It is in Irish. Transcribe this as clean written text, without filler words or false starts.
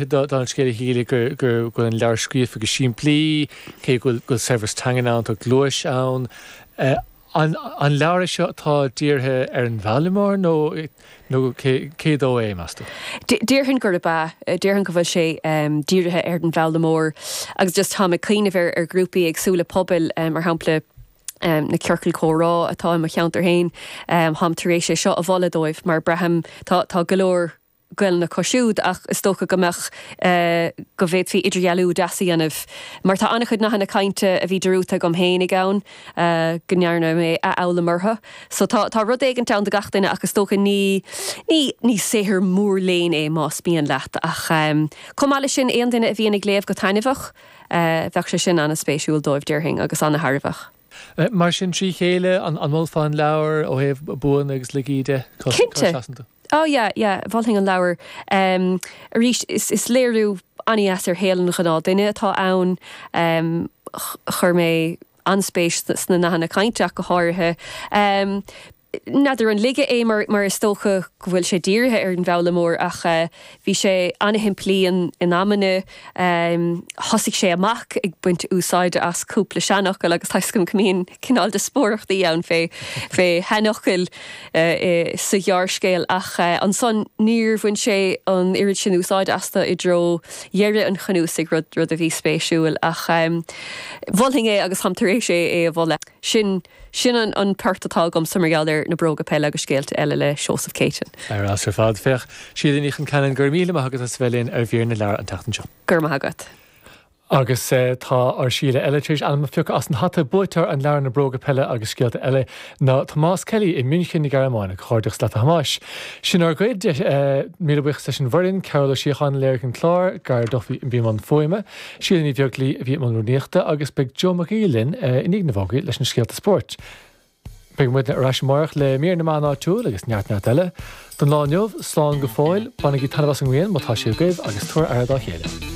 Dála an scéil a Shíle go bhfuil an leabhar scríofa go simplí, cé go bhfuil saibhreas teangan ann, tá gluais ann. An leabhar é seo atá dírithe ar an bhfoghlaimeoir nó nó cé dó é, meas tú? Déarfainn gurb ea. Déarfainn go bhfuil sé dírithe ar an bhfoghlaimeoir agus just táim ag cuimhneamh ar ghrúpaí éagsúla pobail, mar shampla na ciorcail comhrá atá i mo cheantar féin, táim tar éis é seo a mholadh dóibh mar braithim tá go leor Gaelainne acu siúd ach is dócha go mbeadh, go bhféadfaí idirdhealú deas a dhéanamh mar tá an-chuid nathanna cainte a bhí dearúdta agam féinig ann, go ndearna mé athfhoghlaim orthu. So tá, tá rud éigint ann do gach duine ach is dócha ní, ní, ní saothar mór léinn é más mian leat ach chomh maith leis sin aon duine a bhíonn ag léamh go taitneamhach, bheadh sé sin an-spéisiúil dóibh déarfainn agus an-thairbheach. Mar sin trí chéile, an molfá an leabhar ó thaobh buanna agus laigí de? Cá Cinnte! seasann tú? Oh yeah, yeah, mholfainn an leabhar. Arís, is, is léiriú an-dheas ar shaol an ghnáthduine atá ann. Chuir mé an-spéis sna nathanna cainte ach go háirithe. N'fheadar an laige é mar, mar is dócha go bhfuil sé dírithe ar an bhfoghlaimeoir ach bhí sé an-shimplí in, in amanna. Thosaigh sé amach ag baint úsáide as cúpla seanfhocal agus tá 'fhios agam go mbíonn cineál díospóireachtaí ann fé, fé sheanfhocail sa ghearrscéal ach ansan níor bhain sé an oiread sin úsáide astu i dtreo dheireadh an chnuasaigh, rud, rud a bhí spéisiúil. Ach mholfainn é agus táim tar éis é, é a mholadh. Sin, sin an, an port atá agamsa mar gheall ar Na Bróga Peile agus Scéalta Eile le Seosamh Céitinn. Ar fheabhas ar fad. Féach, Síle Ní Chonceanainn, go raibh míle maith agat as a bheith linn ar Mhír na Leabhar an tseachtain seo. Go raibh maith agat. Agus tá ár Síle eile tar éis ainm a phiocadh as an hata, buaiteoir an leabhair Na Bróga Peile agus Scéalta Eile ná Tomás Kelly i München na Gearmáine. Comhghairdeachas leat a Thomáis. Sin ár gcuid. Míle buíochas leis an bhfoireann, Cearbhall Ó Síocháin a léirigh an clár, Gar Duffy a bhí i mbun fuaime, Síle Ní Bheaglaoi a bhí i mbun rúnaíochta agus beidh Joe Mac Aoidh linn i ndiaidh na bhfógraí leis na scéalta spóirt. Beidh muidne ar ais amárach le mír na meán áitiúil agus neart neart eile. Don lá inniu, slán go fóill, bainigí taitneamh as an ngrian má tá sí agaibh agus tabhair aire dá chéile.